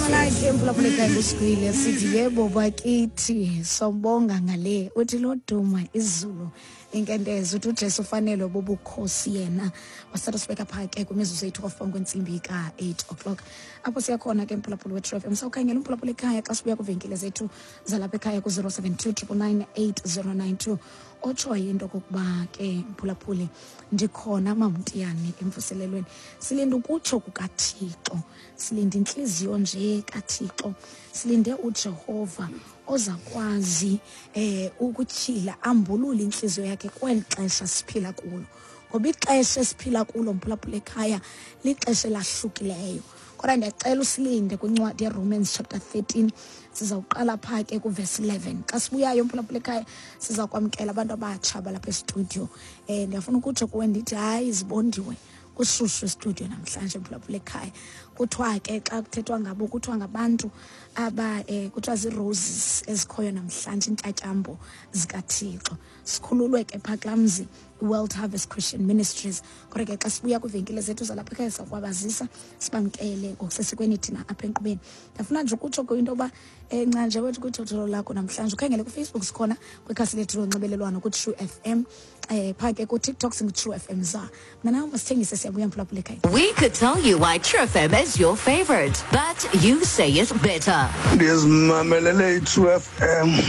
Igama lakhe mphulaphula ngusigwile sithi yebo bakithi sobonga ngale uthi loduma izulu inkentezo uthi uJesu ufanelwe bubukhosi yena wasithatha sibeka phaa ke kwimizuzu eyi-12 phambi kwentsimbi ka-8 o'clock apho siyakhona ke mphulaphula we-True FM sawukhangela umphulaphula ekhaya xa sibuya kwiivenkile zethu zalapha ekhaya ku-072 999 8092 otshoyo into okokuba ke mphulaphuli ndikhona mamtiyane emvuselelweni silinde ukutsho kukathixo silinde intliziyo nje kathixo silinde ujehova ozakwazi eh ukutyhila ambulule intliziyo yakhe kweli xesha siphila kulo ngoba ixesha esiphila kulo mphulaphula ekhaya lixesha elahlukileyo kodwa ndiyacela usilinde kwincwadi yeromans chapter 13 sizawuqala phaa ke kuvesi 11 xa sibuyayo mphulaphula ekhaya siza kwamkela abantu abatsha balapha estudio um ndiyafuna ukutsho kuwe ndithi hayi zibondiwe kushushu estudio namhlanje mphulaphula ekhaya kuthiwa ke xa kuthethwa ngabo kuthiwa ngabantu aba um kuthiwa zii-roses ezikhoyo namhlanje iintyatyambo zikathixo sikhululwe ke phaa kulaa mzi iworld harvest christian ministries kodwa ke xa sibuya kwiivenkile zethu zalapha ekhaya sakwabazisa sibamkele ngokusesikweni thina apha enkqubeni ndiyafuna nje ukutsho into yoba um ncanje wethu kwithotholo lakho namhlanje ukhangele kufacebook sikhona kwikhasi lethu lonxibelelwano kutrue f m um phaa ke kutiktok singutrue f m za mna nawe masithengise siyabuya mphulaphula ekhaya We could tell you why True FM is your favorite, but you say it better. Ndizimamelele i-True FM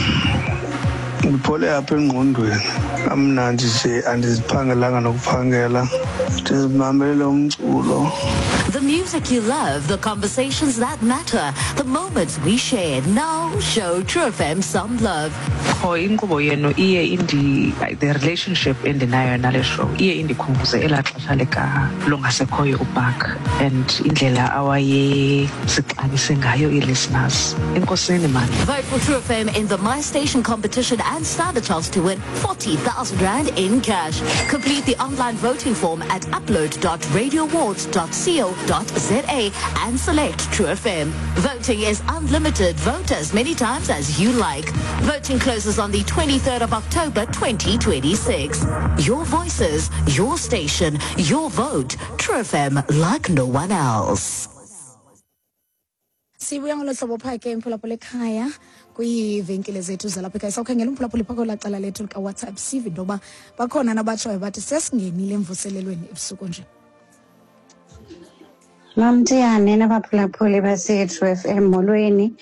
ndiphole apha engqondweni kamnandi nje andiziphangelanga nokuphangela ndizimamelele umculo. The music you love, the conversations that matter, the moments we share. Now show True FM some love. Qho inkqubo yenu iye indi the relationship endinayo nale show iye indikhumbuze elaa xesha lika longasekhoyo uBark and indlela awayesixabise ngayo ii-listeners. Enkosini mani. Vote for True FM in the My Station competition and stand a chance to win 40,000 Rand in cash. Complete the online voting form at upload.radioawards.co.za and select True FM. Voting is unlimited. Vote as many times as you like. Voting closes on the 23rd of October 2026. Your voices, your station, your vote. True FM like no one else. Sibuya ngolo hlobo phaa ke mphulaphula ekhaya kwiivenkile zethu zalapha ekhaya sawukhangela umphulaphula phaa kwelaa cala lethu likawhatsapp sive into yoba bakhona nabatshoyo bathi sesingenile emvuselelweni ebusuku nje. Mamtiyane nabaphulaphuli base-True FM, molweni.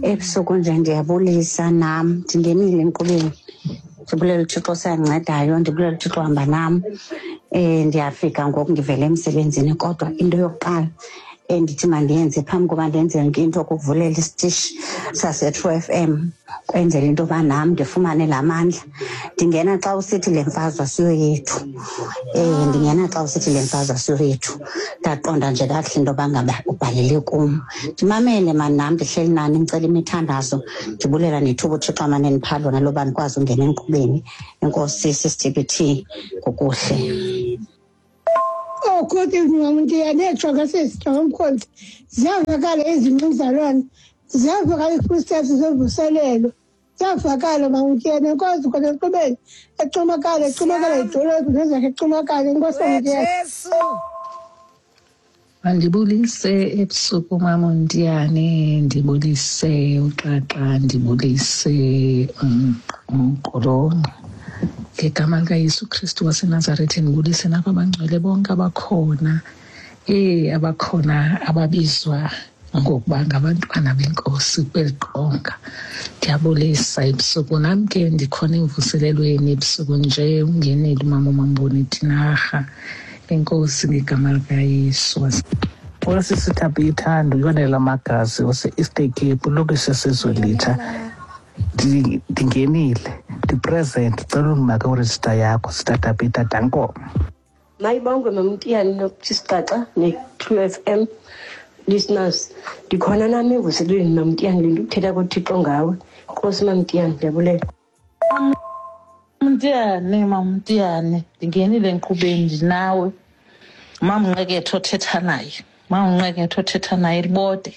Ebusuku nje ndiyabulisa nam, ndingenile enkqubeni. Ndibulela uThixo osandincediyo, ndibulela uThixo ohamba nam. Ndiyafika ngoku ndivela emsebenzini, kodwa into yokuqala endithi mandiyenze phambi koba ndenze yonke into kukuvulela isitishi sase-True FM kwenzela into yoba nam ndifumane laa mandla. Ndingena xa usithi le mfazwe asiyo yethu. Ndingena xa usithi le mfazwe asiyo yethu. Ndaqonda nje kakuhle into yoba ngaba ubhalele kum. Ndimamele mani nam ndihleli nani ndicela imithandazo, ndibulela nethuba uThixo amane ndipha lona loba ndikwazi ungena enkqubeni. Enkosi sisiTBT ngokuhle. Oh, good evening, Mamntiyane. Netshoka sesitshoka mkhonzi. Ziyavakala izinto mzalwane. Ziyavakala ii-footsteps zovuselelo. Ziyavakala Mamntiyane. Enkosi khona enkqubeni. Ecumakala, ecumakala idolophu nezakhe ecumakala. Enkosi Mamntiyane. Jesu. Mandibulise ebusuku maMontiyane, ndibulise uXaxa, ndibulise umqolonqa. Ngegama likaYesu Kristu waseNazaretha ndibulise nabo abangcwele bonke abakhona, abakhona ababizwa ngokuba ngabantwana benkosi kweli qonga. Ndiyabulisa ebusuku nam ke ndikhona emvuselelweni ebusuku nje ungenile umama uMamboni Tinarha. Enkosi ngegama likaYesu. Osisi Thabitha, ndiyonela Magazi ose-Eastern Cape, lokishe sezolitha. Ndingenile, ndipresent, cela undimake urejista yakho, Sister Thabitha, danko. Mayibongwe Mamtiyane noSixaxa ne-True FM listeners. Ndikhona nam emvuselelweni Mamtiyane, le nto ukuthetha koThixo ngawe. Nkosi Mamtiyane, ndiyabulela. Mamtiyane, Mamtiyane, ndingenile enkqubeni ndinawe. Mamnqeketho othetha naye, Mamnqeketho othetha naye Libode.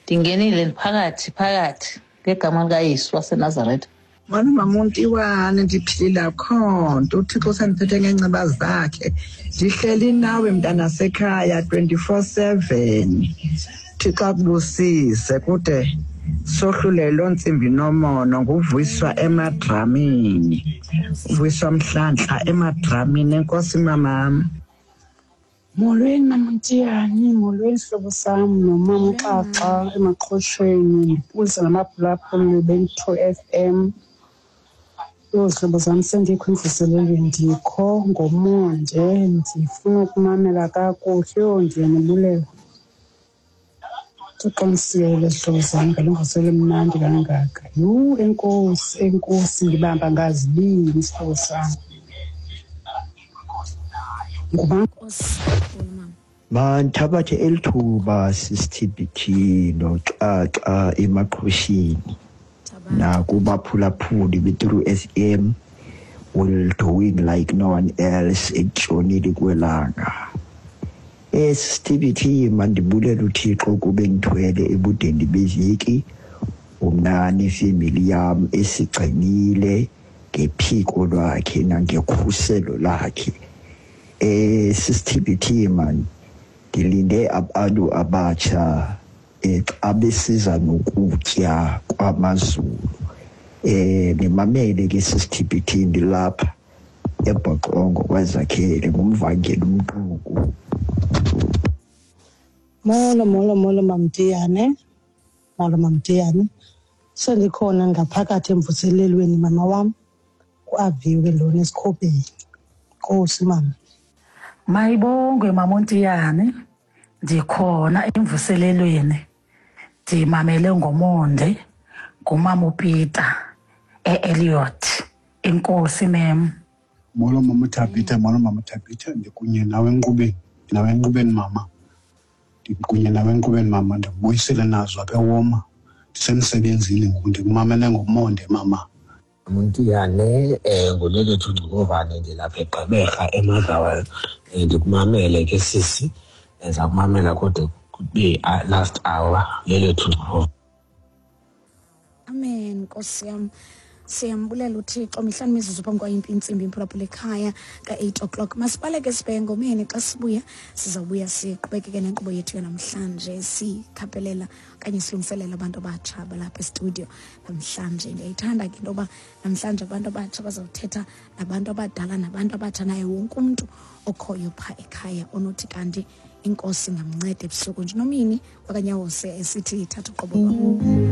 Ndingenile ndiphakathi phakathi ngegama likaYesu waseNazaretha. Molo maMontiwane, ndiphilile akho nto. UThixo usandiphethe ngeenceba zakhe. Ndihleli nawe mntanasekhaya 24/7. Thixo akubusise kude sohlule loo ntsimbi nomono. Nguvuyiswa emadramini, uvuyiswa Mhlantla emadramini. Enkosi mamam. Molweni maMtiyani, molweni sihlobo sam nomama uXaxa emaqhosheni, ndibulisa namaphulaphuli be-True FM. Yho zihlobo zam, sendikho emvuselelweni, ndikho ngomonde, ndifuna ukumamela kakuhle. Yho ndiyanibulela. Thixo ndisiyele zihlobo zam ngale mvuselelo emnandi kangaka. Yhu enkosi, enkosi, ndibamba ngazibini sihlobo sam. Ngubani? Mandithabathe eli thuba sisiTBT noXaxa emaqhosheni nakubaphulaphuli be-True FM will doing like no one else ekutshonile kwelanga. STBT, mandibulela uThixo kube ngithwele ebudeni beveki, umna nefemeli yam esigcinile ngephiko lwakhe nangekhuselo lakhe. SisTBT, man, ndilinde abantu abatsha xa besiza nokutya kwamaZulu. Nimamele ke sisiTBT, ndilapha eBhoxongo kwaZakhele, ngumvangeli umxuku. Molo, molo, molo Mamtiyane. Molo Mamtiyane. Sendikhona ngaphakathi emvuselelweni mama wam. Kuaviwe lona esikhobeni. Nkosi mama. Mayibongwe maMontiyane, ndikhona emvuselelweni, ndimamele ngomonde ngumama uPeter e-Elliot. Enkosi mem. Molo mama Thabitha, molo mama Thabitha, ndikunye nawe enkqubeni, nawe enkqubeni mama. Ndikunye nawe enkqubeni mama, ndikubuyisele nazo apha ewoma. Ndisemsebenzini ngoku, ndikumamele ngomonde mama. Montiyane, nguLelethu Ngcukovane, ndilapha eGqeberha eMotherwell. Ndikumamele ke sisi, ndiza kumamela kodwa kube last hour. Lelethu Ngcukovane. Amen, Nkosi yam. Siyambulela uThixo. Mihlanu mizuzu phambi kwayo intsimbi imphulaphula ekhaya ka-8 o'clock. Masibaleke sibheke engomeni. Xa sibuya sizawubuya siqhubekeke nenkqubo yethu yanamhlanje, sikhaphelela okanye silungiselela abantu abatsha balapha estudio namhlanje. Ndiyayithanda ke into yoba namhlanje abantu abatsha bazawuthetha nabantu abadala nabantu abatsha naye wonke umntu okhoyo phaa ekhaya onothi kanti inkosi ingamnceda ebusuku nje. Nomini wakanyawose esithi thatha uqobo lwam.